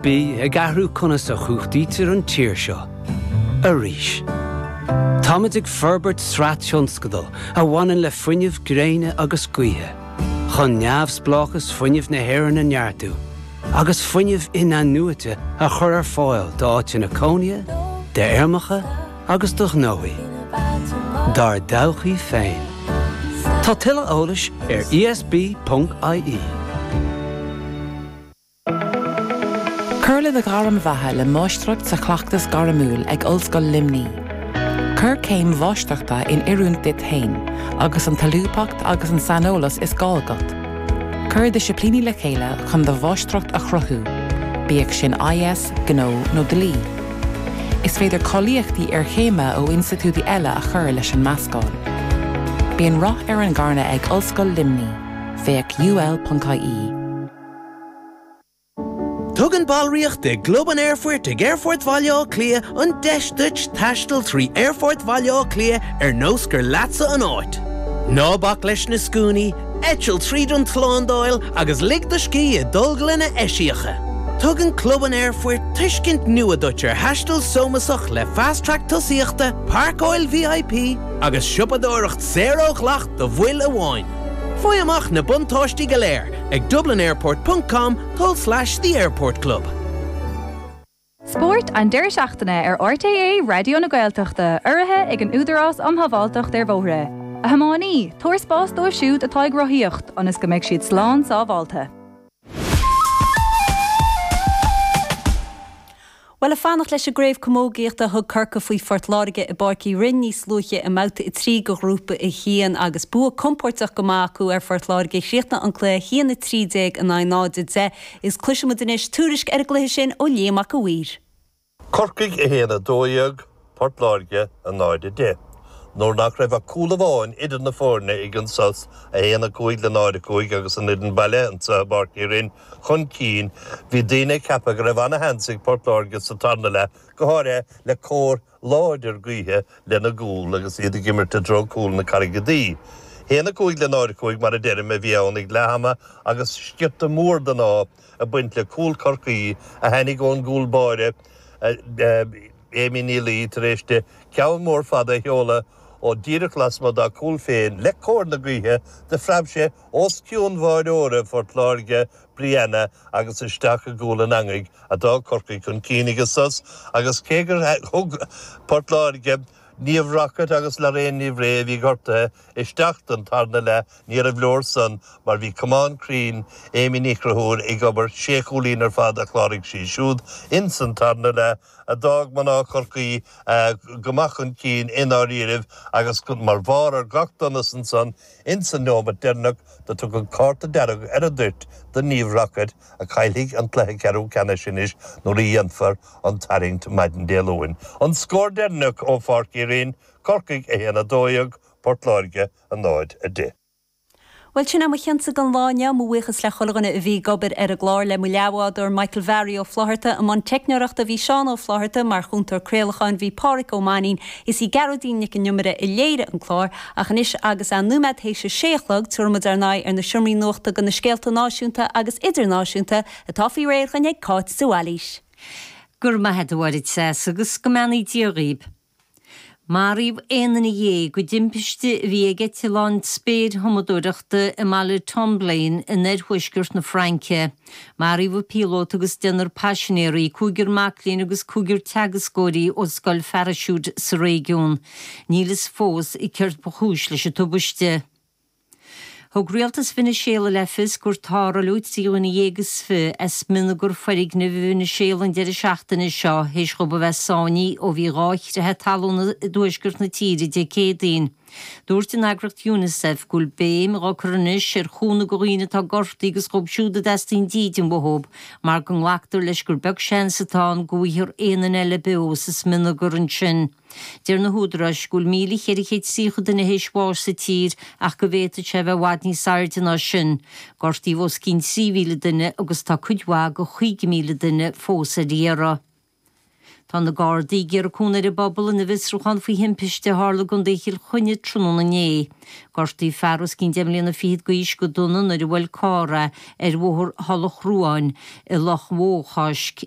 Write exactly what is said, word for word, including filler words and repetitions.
Bí ag athrú conas a chumhachtaítear an tír seo. Arís. Táimid ag forbairt sraith tionscadal a bhaineann le fuinneamh gréine agus gaoithe, chun neamhspleáchas fuinnimh na hÉireann a neartú, agus fuinneamh in-athnuaite a chur ar fáil d'áiteanna cónaithe, d'fheirmeacha agus do ghnóthaí. Dár dtodhchaí féin. Tá tuilleadh eolais ar ESB.ie. Cuir le do ghairm bheatha le Máistreacht sa Chleachtas Gairmiúil ag Ollscoil Luimnigh. Cuir céim mháistreachta in oiriúint duit féin, agus an tsolúbthacht agus an saineolas is gá agat. Cuir disciplíní le chéile chun do mháistreacht a chruthú, bíodh sin IS, gnó nó dlí. Is féidir cáilíochtaí iarchéime ó institiúidí eile a chur leis an meascán. Bíonn rath ar an gcarnadh ag Ollscoil Luimnigh, féach UL.ie. Tugann ballraíocht i gClub an Aerfoirt ag Aerfort Bhaile Átha Cliath an deis duit taisteal trí Aerfort Bhaile Átha Cliath ar nós gur leatsa an áit. Ná bac leis na scuainí, eitil tríd an tslándáil agus lig do scíth i dtolglanna eisiacha. Tugann Club an Aerfoirt tuiscint nua duit ar thaisteal sómasach le Fast Track tosaíochta, páirceáil VIP agus siopadóireacht saor ó dhleacht do bhaill amháin. Faigh amach na buntáistí go léir ag dublinairport.com tulslais the Airport Club. Spórt an deireadh seachtaine ar RTÉ Raidió na Gaeltachta urraithe ag an Údarás um Shábháilteacht ar Bhóithre. A thiománaí, tabhair spás dóibh siúd atá ag rothaíocht ionas go mbeidh siad slán sábháilte. Bhuel ag fanacht leis an gcraobh camógaíochta thug Corcaigh faoi Phort Láirge i bPáirc Uí Rinn níos luaithe i mbabhta a trí de ghrúpa a haon agus bua compóirteach go maith acu ar Phort Láirge chríochnaigh an cluiche haon a trí déag in aghaidh náid a deich is cloisfimid anois tuairisc ar an gcluiche sin ó Liam Mac a' Mhaoir. Corcaigh a haon a dó dhéag, Port Láirge a náid a deich. Nuair nach raibh ach cúl amháin idir na foirne ag an sos, a haon a cúig le náid a cúig agus an fhoireann baile anseo i bPáirc Uí Rinn chun cinn, bhí daoine ag ceapadh go raibh ana-sheans ag Port Láirge sa tarna leath, go háirithe le cóir láidir gaoithe lena gcúl agus iad ag imirt i dtreo cúl na Carraige Duibhe. haon a cúig le náid a cúig mar a deirim a bhí ann ag leath ama agus sciorta mór den ádh ag baint le cúl Chorcaí a tháinig ón gcúl báire Amy Ní Laoi tar éis di ceann mór fada a sheoladh ó díreach lasmuigh dá cúl féin le cóir na gaoithe do phreab sé os cionn bháireora Phort Láirge, Brianna agus isteach i gcúl an eangaigh a d'fhág Corcaigh chun cinn ag an sos agus cé gur thug Port Láirge Niamh Rockett agus Lorraine Ní Bhrae a bhí gortaithe isteach don tarna leath níorbh leor san mar bhí camán cruinn Amy Ní Chonchúir ag obair sé chúilín ar fad a chláraigh sí siúd ins an tarna leath a d'fhág mná Chorcaí go maith chun cinn i ndáiríribh agus mar bharr ar gach donas ansan ins an neomat deireanach do tugadh cárta dearg ar an dtoirt do Niamh Rockett a chaillfidh an cluiche ceathrú ceannais anois nuair a dhéanfar an tarraingt maidin Dé Luain. An scór deireanach ó Pháirc Uí Rinn, Corcaigh a haon a dó dhéag, Port Láirge a náid a deich. Bhuel sin é mo chionsa don lá inniu, mo bhuíochas le chuile dhuine a bhí ag obair ar an gclár, le mo leathbhádóir Michael Bharry Ó Flaithearta, i mbun teicneoireachta bhí Seán Ó Flaithearta, mar chúntóir craolacháin bhí Páraic Ó Mainín, is í Gearóidín Nic an Iomaire a léirigh an clár, ach anois agus é nóiméad théis a sé a chlog, tabharfaimid ár n-aghaidh ar na seomraí nuachta do na scéalta náisiúnta agus idirnáisiúnta atá faoi réir againn ag Cáit de Bhailís. Go raibh maith agat a Mháire agus go mbeannaí Dia dhaoib. Maraíodh aon duine dhéag i dtimpiste a bhí ag eitleán spéirthumadóireachta i mbaile Tomblaine in oirthuaisceart na Fraince. Maraíodh an píolóta agus deichniúr paisinéirí, cúigear mac léinn agus cúigear teagascóirí ó scoil pharaisiúit sa réigiún. Níl fhios fós céard ba chúis leis an tubaiste. Thug rialtas Veiniséala le fios gur tarrtháladh trí dhuine dhéag is fiche as smionagar foirgnimh i Veiniséala an deireadh seachtaine seo théis dhóibh a bheith sáinnithe ó bhí dhá chreathadh talún i dtuaisceart na tíre Dé Céadaoin. Dúirt an eagraíocht UNICEF go bhfuil béim á cur anois ar chúnamh do dhaoine atá gortaithe agus dhóibh siúd a dteastaíonn dídean uathu mar go nglactar leis gur beag seans atá ann go bhfaighfear aon duine eile beo sa smionagar ansin. Deir na húdaráis go bhfuil míle cheithre chéad tríocha duine théis bháis sa tír ach go bhféadfadh sé a bheith i bhfad níos airde ná sin. Gortaíodh os cionn trí mhíle duine agus tá cuid mhaith de chúig mhíle duine fós ar iarraidh. Tá na Gardaí ag iarraidh cúnamh ar an bpobal ina bhfiosrúchán faoi thimpiste a tharla i gContae Chill Chainnigh tráthnóna inné. Gortaíodh fear os cionn deich mbliana fichead d'aois go dona nuair a bhuail carr é ar bhóthar Thulach Ruáin i Loch Bhóchaisc.